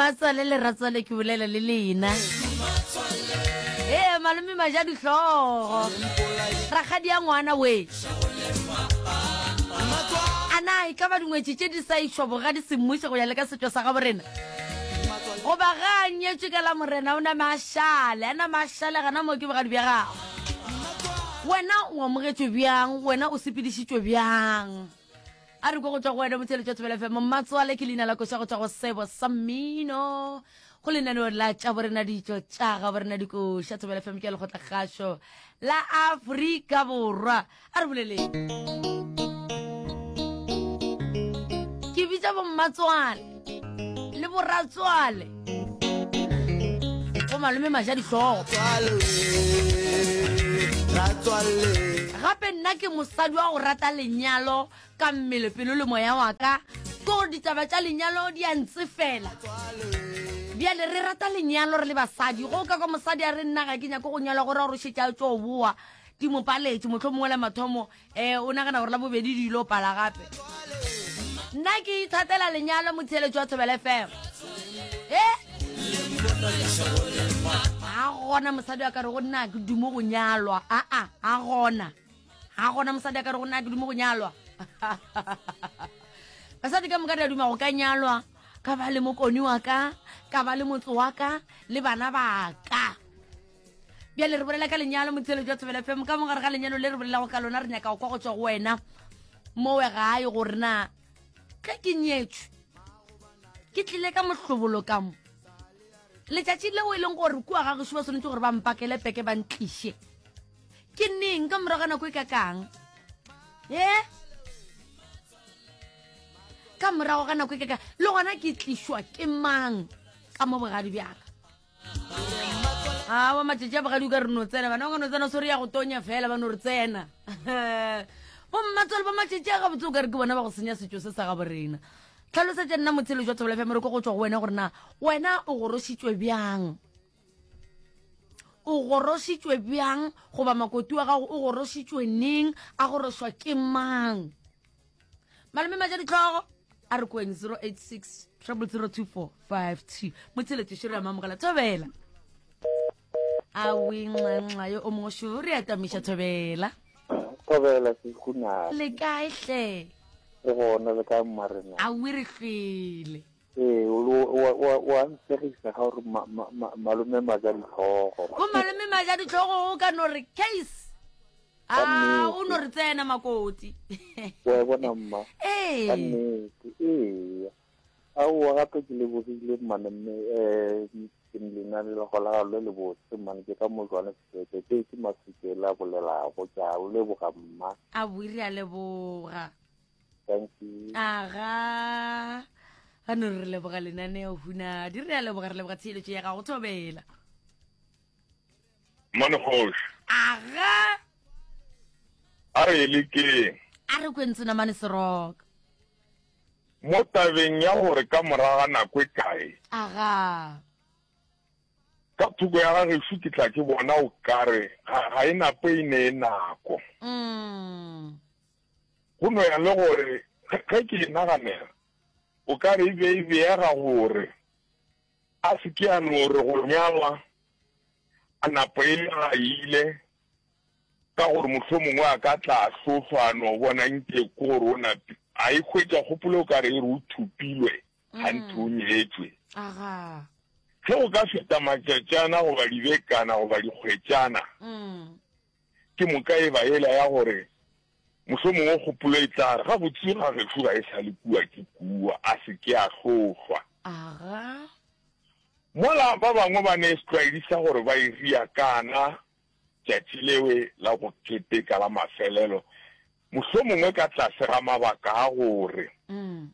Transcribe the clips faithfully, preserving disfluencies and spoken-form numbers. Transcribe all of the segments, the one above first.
Mmatswale le ratswale ke bolela le lena. Ee, malome maja dihlogo. Rakgadi ya ngwana we. A na e ka ba dingwetši tše di sa išwa bogadi semmušo go ya le ka setšo sa gabo rena? Goba ga a nyetšwe ka la morena o nama a šale, a nama a šale gana moo ke bogadi bja gagwe. Wena o amogetšwe bjang? Wena o sepedišitšwe bjang? A re kwa go tšwa go wena motheeletši wa Thobela F M. Mmatswale ke leina la koša go tšwa go Sebo sa Mmino go lenaneo la tša borena ditšo tša ga borena dikoša. Thobela F M ke ya lekgotlakgašo la Afrika Borwa. A re boleleng. Ke bitša bommatswale le boratswale go malome maja dihlogo. Gape nna ke mosadi wa go rata lenyalo ka mmele, pelo le moya wa ka. Ke gore ditaba tša lenyalo di a ntsefela. Bjale re rata lenyalo re le basadi. Go ka kwa mosadi a re nna ga ke nyake go nyalwa, go ra gore o šetše a tšo boa di mo paletše, mohlomongwe la mathomo eh, o nagana gore la bobedi di ilo pala gape. Nna ke ithatela lenyalo motheeletši wa Thobela F M. Eh? Ga gona mosadi a ka re go nna ke dumo go nyalwa. Aa, ga gona. Ga gona mosadi a ka re go nna ke dumo go nyalwa. Basadi ka moka re a duma go ka nyalwa, ka ba le mokoni wa ka, ka ba le motse wa ka, le bana ba ka. Bjale re bolela ka lenyalo motheeletši wa Thobela F M. Ka mogare ga lenyalo le re bolelago ka lona, re nyaka go kwa go tšwa go wena mowe gae gore na ge ke nyetšwe ke tlile ka mohlobolo ka mo letšatši leo e leng gore kua ga gešo ba swanetše gore ba mpakele peke ba ntliše ke neng, ka morago ga nako e kakang? E ka morago ga nako e kakang, le gona ke tlišwa ke mang ka mo bogadi bjaka? Awa, matšatši a bogadi o ka re no tsena, bana ba ka no tsena, sore ya go tonya fela ba no re tsena. Bommatswale ba matšatši a gabotse o ka re ke bona ba go senya setšo se sa gabo rena. Tlhalosetša nna motheeletši wa Thobela F M re ko go tšwa go wena gore na wena o gorošitšwe bjang, o gorošitšwe bjang, goba makoti wa gago o gorošitšwe neng, a gorošwa ke mang? Malome maja ditlhogo a re kweng zero eight six triple zero two four five two. Motheeletši šore ya mamogela Thobela. Awe nxa yo o mongwe šo re atamiša Thobela. Thobela sehuna. Le kae hle? Re gona, le kae mmarena? Awe re hlwele. Ee, o a nsegisa ga gore malome maja ditlhogo. Bo malome maja ditlhogo o ka no re case. A o no re tsena makoti. Wa e bona mma. Ee. Ka nnete, ee. Aowa gape ke lebogile mmane mme eh ke lena le go la le le botse mmane ke ka mo jwana ke ke ke masike la bolelago ke a o leboga mma. A bo re a leboga. Thank you. Aga. Ga no re leboga lenaneo huna di re a leboga, re leboga tsheletso ya gago Thobela. Mmane kgoši. Aga. A re le keng? A re kwentse namane seroka. Mo tabeng ya gore ka morago ga nako e kae? Aga. Ka thoko ya ga gešo ke tla ke bona o kare ga, ga e nape e ne e nako. Mm. Go no ya le gore ge, ge ke e naganela o ka re e be e beega gore a se ke a no re go nyalwa a napo e le ga ile, ka gore mohlomongwe a ka tla hlohlwa a no bona nke ke gore o napi a e hwetša kgopolo o ka re e re o thupilwe ganthe o nyetšwe. Aga. Ge o ka feta matšatšana goba dibekana goba dikgwetšana, Mm. ke moka e ba ela ya gore mohlomongwe kgopolo e tla re gabotse ga gešo ga e sa le kua ke kua, a se ke a hlohlwa. Aga. Mola ba bangwe ba ne setlwaedi sa gore ba e ria kana tšatši lewe la go keteka la mafelelo, mohlomongwe ka tlase ga mabaka a gore Mm.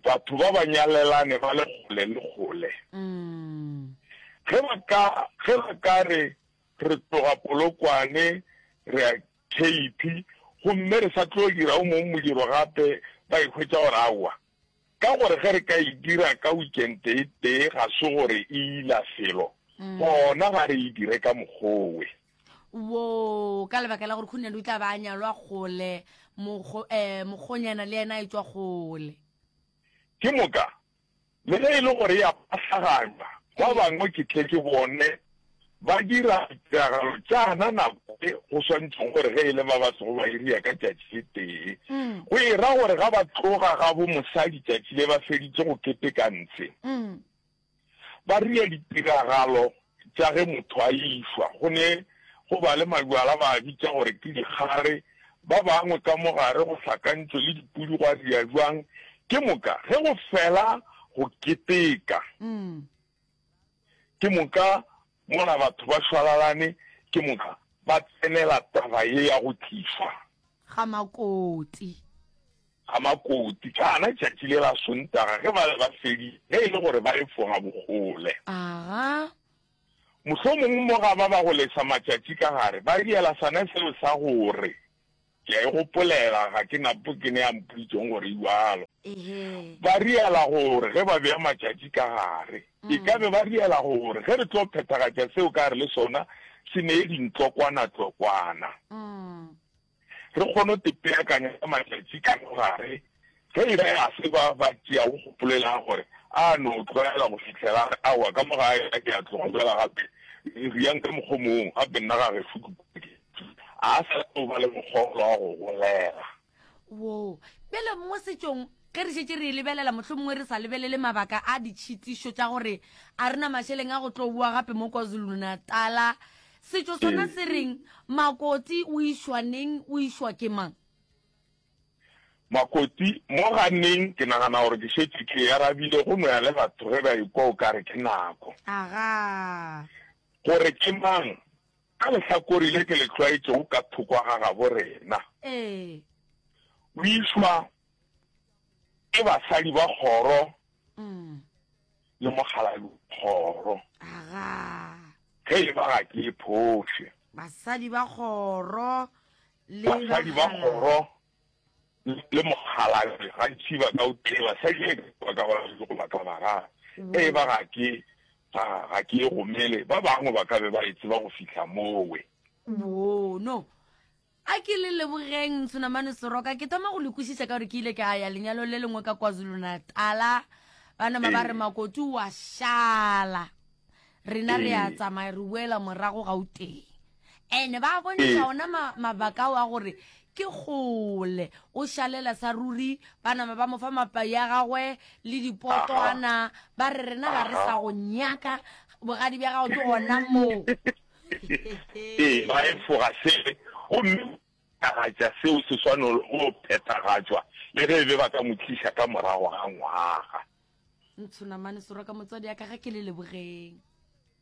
batho ba ba nyalelane ba le kgole le kgole. Mm. Ge ba ka, ge ba ka re re tloga Polokwane re ya Cape, gomme re sa tlo dira o mongwe modiro gape, ba e hwetša gore aowa, ka gore ge re ka e dira ka weekend e tee ga se gore e ila felo, gona ga re e dire ka mokgowe. Wo, ka lebaka la gore Khunyane o tla ba a nyalwa kgole, mokgo-, eh, mokgonyana le yena a etšwa kgole. Ke moka Le ge e le gore ya pahlaganywa, ba bangwe ke tle ke bone ba dira ditiragalo tšana nako e go swantšego gore ge e le ba ba sego ba iria ka tšatši le tee. Go e ra gore ga ba tloga ga bo mosadi tšatši le ba feditše go keteka ntshe, ba ria ditiragalo tša ge motho a išwa. Go ne go ba le majwala ba a bitša gore ke dikgare, ba bangwe ka mo gare go hlakantšwe le dipudi gwa ria bjang. Ke moka ge go fela go keteka, ke moka mola batho ba šwalalane, ke moka ba tsenela taba ye ya go tlišwa Ga makoti. Ga makoti. Ka gana tšatši le la Sontaga ge ba be ba feditše, ge e le gore ba efoga bokgole. Aga. Mohlomongwe mo ga ba ba go lesa matšatši ka gare, ba riela sona seo sa gore, Ke a e gopolela, ga ke napo ke ne a mpoditšeng gore e bjalo. Ba riela gore ge ba bea matšatši ka gare, e ka be ba riela gore ge re tlo phethagatša seo ka gare le sona se nee dintlokwana-tlokwana. Re kgone go tepeakanya ka matšatši ka mo gare, ge e ba ga se ba ba tšeago kgopolo e la gore a no tlwaela go fihlela a re, Aowa, ka mo gae ga ke a tloga bjala gape, riang ka mokgwa o mongwe, gape nna ga gešo ke kua ke a sa tlo ba le mokgwa wa go golela. Wo. Bjale mo setšong, ge re šetše re e lebelela, mohlomongwe re sa lebelele mabaka a ditšhitišo tša gore a re na mašeleng a go tlo boa gape mo KwaZulu-Natala, setšo sona se reng? Makoti o išwa neng, o išwa ke mang? Makoti, Mo ga neng, ke nagana gore ke šetše ke e arabile, go no ya le batho ge ba ekwa o ka re ke nako. Agaa. Gore ke mang? Ka lehlakore le ke le tlwaetšego ka thoko ga gabo rena. Ee. O išwa ke basadi ba kgoro le mokgalabje wa kgoro. Agaa. Ge e ba ga ke e phoše. Basadi ba kgoro le Basadi ba kgoro le mokgalabje gantši ba ka o tee, basadi e ba ka ba babedi goba ka bararo. Ge e ba ga ke ga, ga ke e gomele, ba bangwe ba ka be ba e tseba go fihla mowe. Woo, no. A ke le lebogeng, Ntshonamane Seroka. Ke thoma go le kwešiša ka gore ke ile ka ya lenyalong le lengwe ka KwaZulu-Natala. Ba nama ba re Ee. Makoti o a šala. Rena re a Ee. tsamaya re boela morago Gauteng. Ene ba bontšha Ee. ona ma, mabaka ao a gore ke kgole o šalela sa ruri, ba nama ba mo fa mapai a gagwe le dipotwana, ba re rena ga re sa go nyaka, bogadi bja gago ke gona moo. Ee, ba efoga se gomme phethagatša seo se swanelo go phethagatšwa le ge e be ba ka mo tliša ka morago ga ngwaga. Ntshonamane Soroka motswadi ya ka ga ke le lebogeng.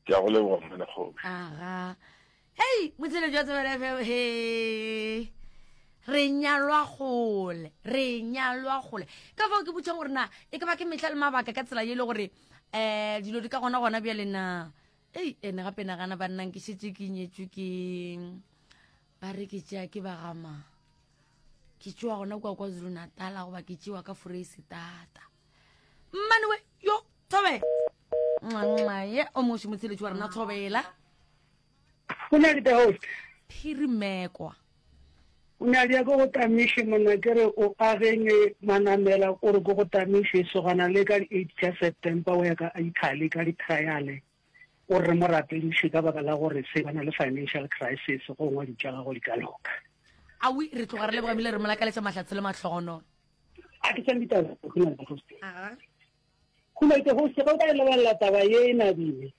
Ke a go leboga Mmanekgoši. Aga. Hei, motsheletši wa Thobela F M, he. Re nyalwa kgole, re nyalwa kgole. Ka fao ke botšang gore na e ka ba ke mehla le mabaka ka tsela ye le gore um dilo di ka gona gona bjale na. Ei, ene gape nagana banna ke šetše ke nyetšwe ke ba re ke tšea ke ba gama. Ke tšewa gona kua KwaZulu-Natal goba ke tšewa ka Foreisetata. Mmane we, yo, Thobela. Nxa, ye, o moši motsheletši wa rena Thobela. Go na le the host. Phirimekwa. O ne a di ya ko go tamiše monna ke re o ageng manamela o re ko go tamiše sogana le ka di eight tša September o ya ka Italy ka di trial o re mo rapediše ka baka la gore se ba na le financial crisis gongwe di tša gago di ka loka. Awi re tloga re leboga ebile re mo lakaletša mahlatse le mahlogonolo. A ke tsene ditaba go na le the host. Aga. Go na le the host ge o ka e lebelela taba ye e nabile.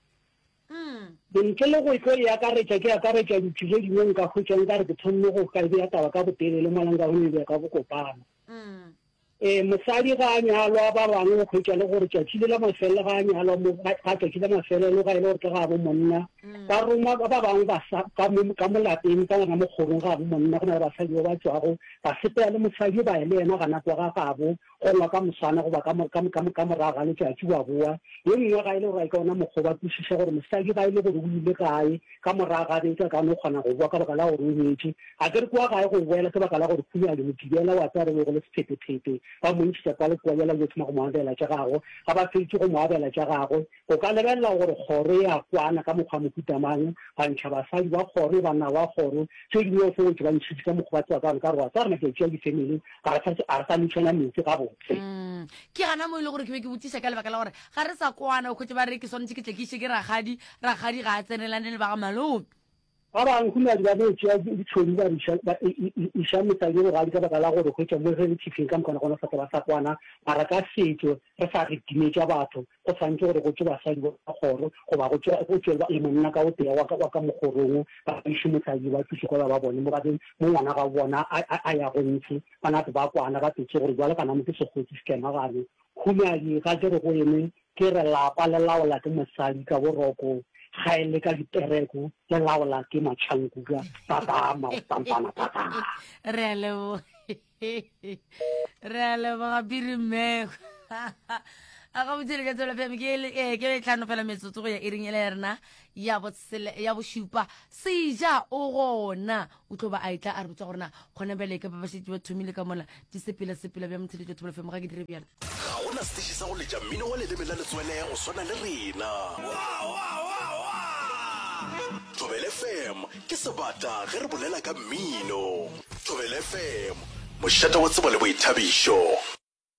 Mm. Ntle le go tlo e akaretša, ke akaretša ditši tše dingwe nka hwetša nka re ke thomile go ka bea taba ka botelele mola nka go e bea ka bokopana. Mm. E, mosadi ga a nyalwa ba bangwe o hwetša le gore tšatši le la mafelelo ga a nyalwa mo, ga, ga tšatši la mafelelo ga e le gore ke ga bo monna, Mm. ba roma ba ba bangwe ba sa, ka mo, ka mo lapeng ka gona mo kgorong ga bo monna, go na le basadi ba ba tšwago ba sepela le mosadi ba ya le yena gana kwa ga gabo, gongwe ka moswana goba ka mo, ka mo, ka mo, ka morago ga letšatši wa boa. Ye nngwe ga e le gore ka ona mokgwa ba kwešiša gore mosadi ga e le gore o ile gae ka morago ga beke a ka no kgona go boa ka baka la gore o nyetše. A ke re kua gae go boela ke baka la gore khunyane Mokibela wa tseba re be go le sephetephete ba mo ntšhetša kwa le kua bjale ba yo thoma go mo abela tša gagwe. Ga ba fetše go mo abela tša gagwe o ka lebelela gore kgoro e a kwana ka mokgwa mohuta mang, ba ntšha basadi ba kgoro, banna ba kgoro, tše dingwe o fo wetše ba ntšhitše ka mokgwa ba tseba ka gona ka gore wa tseba re matšatši a di-family ga re sa, ga re sa ntšhana metsi gabotse. gabotse. Mm. Ke gana mo e le gore ke be ke botšiša ka lebaka la gore ga re sa kwana, o khwetše ba re ke swanetše ke tle ke iše ke rakgadi, rakgadi ga a tsenelane le ba ga malome. Ba bangwe humadi ba no tšea ditšhomi ba di iša, ba iša mosadi yo bogadi ka baka la gore hwetša mo ge re tšhifing ka mokana gona sa ba sa kwana, mara ka setšo re sa re timetša batho, go swanetše gore go tšwe basadi ba kgoro goba go tšwe go tšwe le monna ka o tee wa ka wa ka mokgorong ba iše mosadi ba tliše kwa ba bone mo ba be mo ngwana ga bona a a a ya go ntshe ba nape ba kwana ba tsetse gore jwale kana mo ke sekgotsi se kemagane. Humadi ga ke re go ene ke re lapa le laola ke mosadi ka boroko ga e le ka dipereko le laola ke matšhankuka papa maotampana papa. Re a leboga, re a leboga Piri Mmeko. A ga botse le tswela fm ke eh, ke tlhano fela metsotso go ya iring ele ya rena ya bosele ya bošupa. Seja o gona o tlo ba a etla a re botsa gore na gona bjale ka ba ba šetše ba thomile ka mola di sepela sepela bja motheletšo thobela fm ga ke dire bjalo. Ga gona setiši sa go letša mmino wa leleme la letswele go swana le rena. Thobela F M ke sebata ge re bolela ka mmino. Thobela F M, mošate wa tsebo le boithabišo.